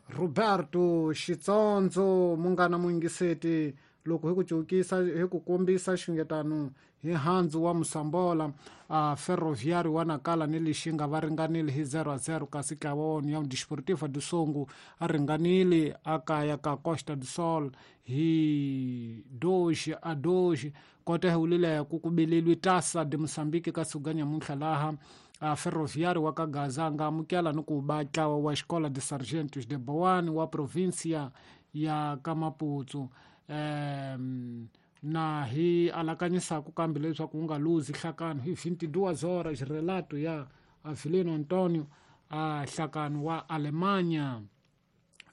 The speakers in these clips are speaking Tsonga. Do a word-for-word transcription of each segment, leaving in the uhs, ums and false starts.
Roberto Xitsondzo munghana muyingiseti loko hi ku cukisa hi ku kombisa xungetano hi handzu wa Musambola a Ferroviário wa Nakala ni Lixinga va ringanile hi zero a zero kasi ntlawa wa União Desportiva do Songo a ringanile a kaya ka Costa do Sol hi dois a dois kota hi wulile ku ku beleliwe Taça de Moçambique ka siku ga nyamuntlha laha a Ferroviário wa ka Gaza a nga amukela ni ku ba ntlawa wa Escola de Sargentos de Boane wa província ya ka Maputo um na hi alakanyisaku kambe leswaku wu nga luzi nhlakano hi vinte e duas horas relato ya Avelino Antonio a nhlakano wa Alemanha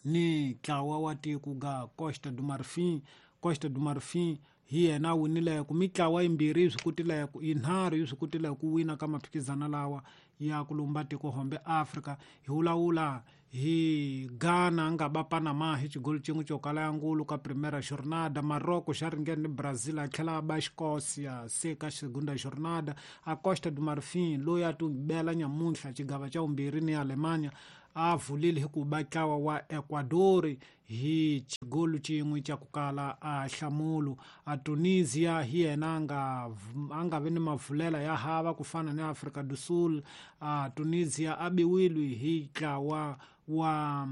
ni ntlawa wa tiko ga Costa do Marfim. Costa do Marfim hi yena a winileko mitlawa yimbirhi yi swi kotileko yinharhu yi swi kotile ku wina ka maphikizano lawa ya ku lumba tiko hombe Afrika. Hi vulavula hi Ghana a nga ba Panama hi xigolo xin'we xo kala ya ngulu ka primera jornada. Morocco xa ringene ni Brazil a tlhela a ba Escócia se ka segunda jornada. A Costa do Marfim loyi a ti bela nyamuntlha xigava xa vumbirhi ni Alemanha a vulile hi ku ba ntlawa wa Ecuador hi xigolo xin'we xa ku kala a nhlamulo. A Tunisia hi yena a nga a nga vi ni mavulela ya hava ku fana ni Afrika do Sul. A Tunisia a biwile hi ntlawa wa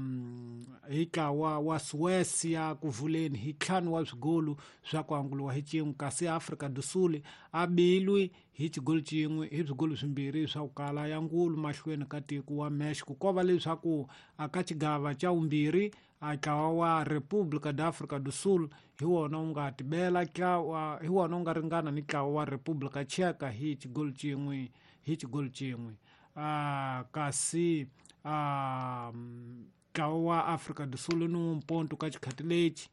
hi ntlawa wa Suécia ku vuleni hi ntlhanu wa swigolo swa ku anguliwa hi xin'we kasi Afrika do Sul a bilwi hi xigolo xin'we hi swigolo swimbirhi swa ku kala ya ngulu mahlweni ka tiko wa Mexico. Ko va leswaku a ka xigava xa vumbirhi a ntlawa wa República da África do Sul hi wona wu nga tibela ntlawa hi wona wu nga ringana ni ntlawa wa República Tcheca hi xigolo xin'we hi xigolo xin'we a kasi a ntlawa wa Afrika do Sul ni wumponto ka xikhati lexi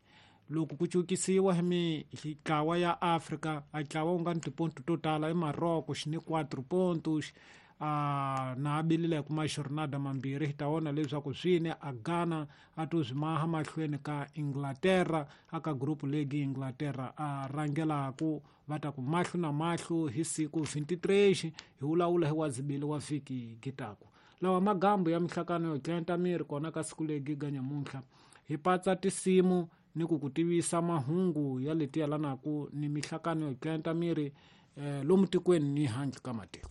loko ku cukisiwa hi mitlawa ya Afrika a ntlawa wu nga ni tiponto to tala i Morocco xi ni quatro pontos a na abilile kuma jornada mambirhi hi ta vona leswaku swini a Ghana a to swi maha mahlweni ka Inglaterra aka group league Inglaterra a rhangelaku va ta ku mahlo na mahlo hi siku vinte e três hi vulavula hi wazibili wa vhiki gitaku lawa magambu ya mihlakano yo tlenta miri kona ka siku legi ga nyamuntlha hi patsa tinsimu ni ku ku tivisa mahungu ya leti yalanaku ni mihlakano yo tlenta miri eh, lomu tikweni ni handle ka matiko.